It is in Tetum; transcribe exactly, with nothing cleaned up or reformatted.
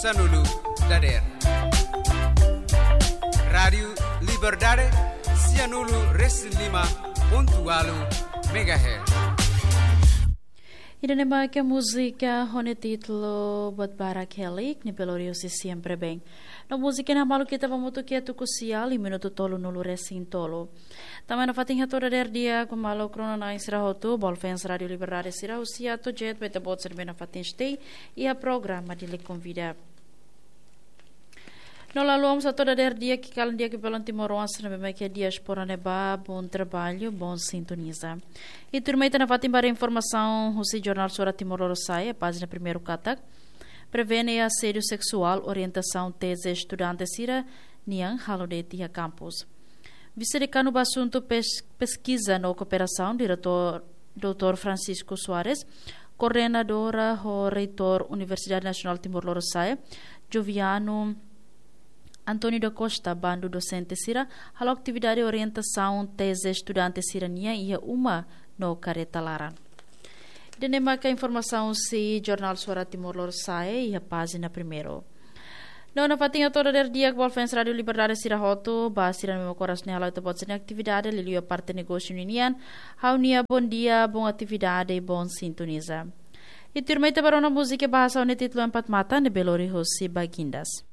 Sanulu dader. Rádiu Liberdade, sianulu resin lima pontu walu megahertz. Ida-ne'e mak múzika ho nia títulu Buat Barak Helik, ne'ebé lori husi Sempre Bem. No múzika ne'e hamaluk ita ba hamutuk iha tuku sia, iha minutu tolunulu resin tolu. Tanba ne'e ha'u hato'o dader di'ak ba maluk rona-na'in sira hotu, ba fans Rádiu Liberdade sira husi A to Z, ba ita-boot sira ne'ebé nafatin stay iha programa Dili Konvida. No la haluha mós hato'o dader di'ak, ki'ik-kalan di'ak ba maluk timoroan sira ne'ebé mak iha diáspora ne'ebá, bom trabalho, bom sintoniza. I tuirmai ita nafatin ba informasaun husi Jornál Suara Timor Lorosa'e, pájina primeiru katak: Prevene asédiu seksuál, orientasaun teze estudante sira-nian halo de'it iha kampus. Vise-Dekanu ba Asuntu Pes-, Peskiza no Kooperasaun, Diretór doutór Francisco Soares, koordenadora ho reitór Universidade Nasionál Timor Lorosa'e, Joviano António da Costa, bandu dosente sira, halo atividade orientasaun teze estudante sira-nian iha uma no kareta laran. Ida-ne'e maka informasaun husi Jornál Suara Timor Lorosa'e iha pájina primeiru. No nafatin hato'o dader di'ak ba fans Rádiu Liberdade sira hotu, ba sira ne'ebé mak oras ne'e hala'o ita-boot sira-nia atividade, liuliu iha parte negósiu ninian, ha'u-nia bom dia, bom atividade, bom sintoniza. I tuirmai ita ba rona múzika bahasa ho nia títulu Empat Mata, ne'ebé lori husi Bagindas.